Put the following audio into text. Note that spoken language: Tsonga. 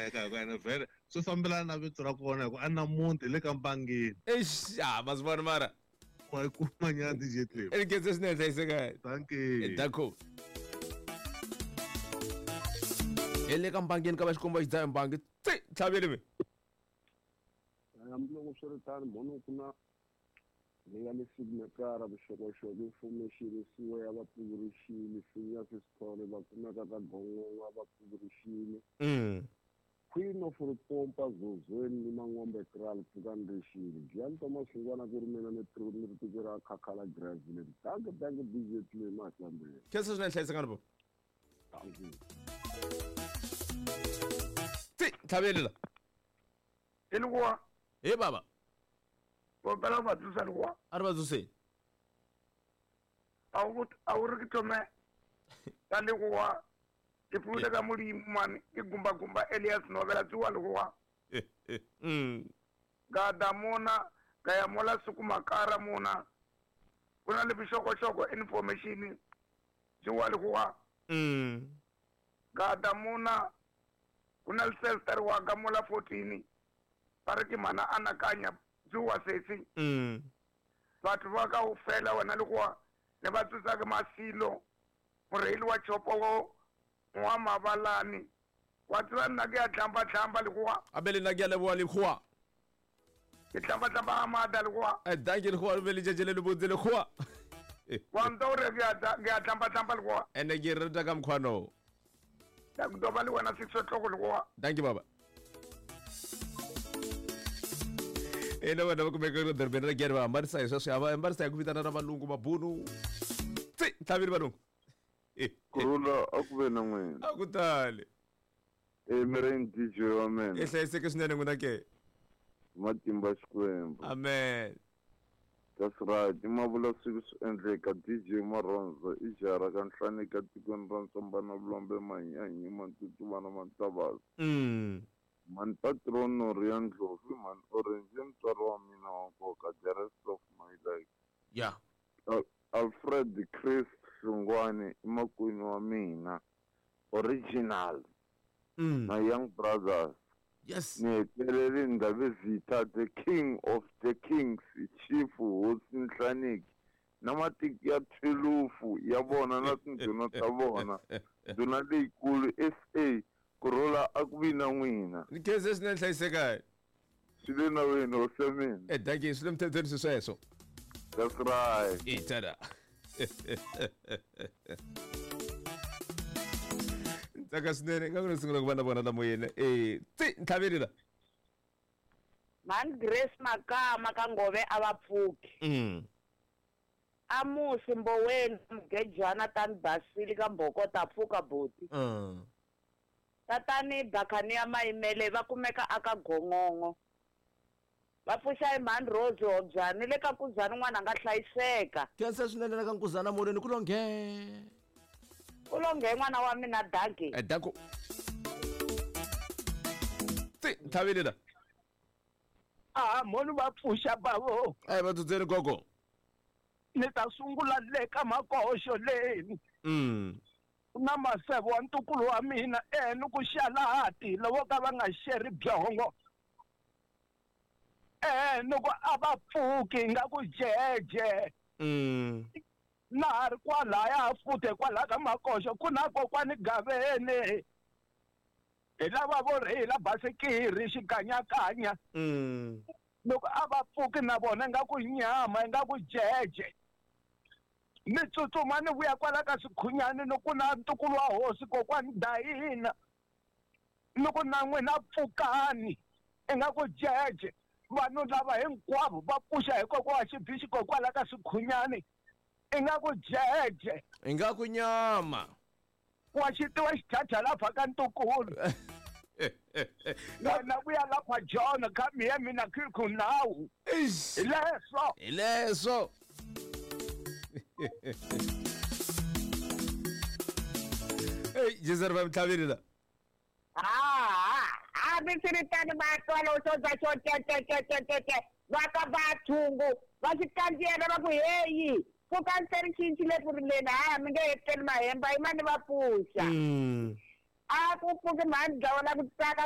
hlayiseka hi ku ene vhele swi fambelana na vito ra kona hi ku a na muti hi le ka Mbangeni. Eish, ah, ma swi vona mara. Wa yi kuma nyana DJ Clem. I khensa swinene hlayiseka. Dankie. Danko. Hi le ka Mbangeni ka va xikomba xi dzaha mbangi. Tsi, tlhaveli mi. Hambiloko swi ri tano, mhani ku na leyi nga le signatara vuxokoxoko information siwa ya vapfuvurixini Phineas Sithole va kumeka ka Gongongo a va pfuvurixini Queen of Ripompa Zozweni ni Mangombe Kraal Pfukani Rixile Giyani Thomas Xingwana ku ri mina ni ni ri tiko ra Khakhala Grass Village Dankie dankie DJ Clay Mahlambeni. Khensa swinene hlayiseka ni Dankie. Tsi, tlhaveli la. I likuwa. He baba. Kopela va tsusa likuwa. A ri va tsuseni. A wu a wu ri ke thome ka likuwa ke pfule ka Molimo mani ke gumba gumba Elias Novela tsuwa likuwa. Ka da mona ka ya mola sukumakara mona ku na le vuxokoxoko information tsuwa likuwa. Ka da mona ku na lisesitari wa ka mola 14 ba re ke mana anakanya tsuwa sesi. Batho ba ka ofela wena le goa ne ba tsotsa ke masilo moreili wa chopo wo wa mabalane wa tseba nna ke a tlamba tlamba le goa. A be le nna ke a leboa le goa. Ke tlamba tlamba ga maata le goa. Eh dankie le goa le be le tšatši le le botse le goa. Wa nta gore ke a tlamba tlamba le goa. Ene ke rata ka mokgwa Ke tlo ba le wena sehlogo le goa. Dankie baba. Ene vana va kumeka edorobeni ra Giyani va hambanisa hi sweswo va hambanisa hi ku vitana na valungu mabunu. Tsi, ntlhavini valungu. Kurhula a ku ve na n'wina. A ku tali. E mireni DJ wa mina. I hlayiseke swinene n'wina ke. Matimba Xikwembu. Amen. That's right. I mavula siku swi endleka DJ Marhondzo i jaha ra ka Nhlanika tikweni ra Ntsombana Vulombe Manyanyi Mantutuvana Mantavasi. Mhani Patron Noria Ndlovu i mhani Orange i mutswari wa mina wa nkoka the rest of my life. Yeah. Alfred Chris Hlungwani i makwenu wa mina. Original. My young brothers. Yes. Ni hetelele Ndhavezitha the king of the kings chief hosi Nhlaniki na matiko ya thwelufu ya vona na tindhuna ta vona ndhuna leyikulu SA kurhula a ku vi na n'wina. Ni khense swinene hlayiseka. Swi le nawini hosi ya mina. Eh dankie swi le mthethweni swi sweswo. That's right. Itada. Ntsaka swinene nga ku ni sungula ku va na vona la moyeni. Eh tsi ntlhaveli la. Mhani Grace Makama ka Ngove a va pfuki. Amusi Mboweni Mugejana tani Basili ka Mbhokota pfuka buti. Tatani Bakhaniya Mayimele va kumeka aka Gongongo. Va pfuxa hi mhani Rose Hobyani le ka Nkuzani n'wana nga hlayiseka. Khensa swinene la ka Nkuzana molweni ku lo nghee. Ku lo nghee n'wana wa mina dankie. Eh danko. Tsi ntlhaveli la. A mhoni va pfuxa bavo. A hi va dzudzeni gogo. Ni ta sungula le ka makoxo leni. Ku na Maseve wa ntukulu wa mina e ni ku Xalati lovo ka va nga xeri byongo. E ni ku a va pfuki nga ku jeje. Na ha ri kwalaya futhi kwalaya ka makoxo ku na kokwani Gaveni. Hi lava vo rheyila basikiri xikanyakanya. Loko a va pfuki na vona ingaku nyama ingaku jeje. Ni tsutsuma ni vuya kwala ka Swikhunyani ni ku na ntukulu wa hosi kokwani Dayina. Ni ku na n'wina pfukani ingaku jeje. Vanhu lava hinkwavo va pfuxa hi kokwa wa Xibixi kwala ka Swikhunyani ingaku jeje. Ingaku nyama. Wa xi tiva xichacha lapha ka ntukulu. Wena vuya lapha John come here mina khikhu nawu. Eish. Hi leswo. Hi leswo. Hey, Jesu va mtlhaveli la. Ha ha hambiswiritano va twa loko xo za xo te te te te te te va ka va thungu va xi kandziyela va ku heyi pfukani se ri cincile ku rileni ha mi nge hetleli mahemba yimani va pfuxa. A ku pfuki mhani dlawa la ku tsaka.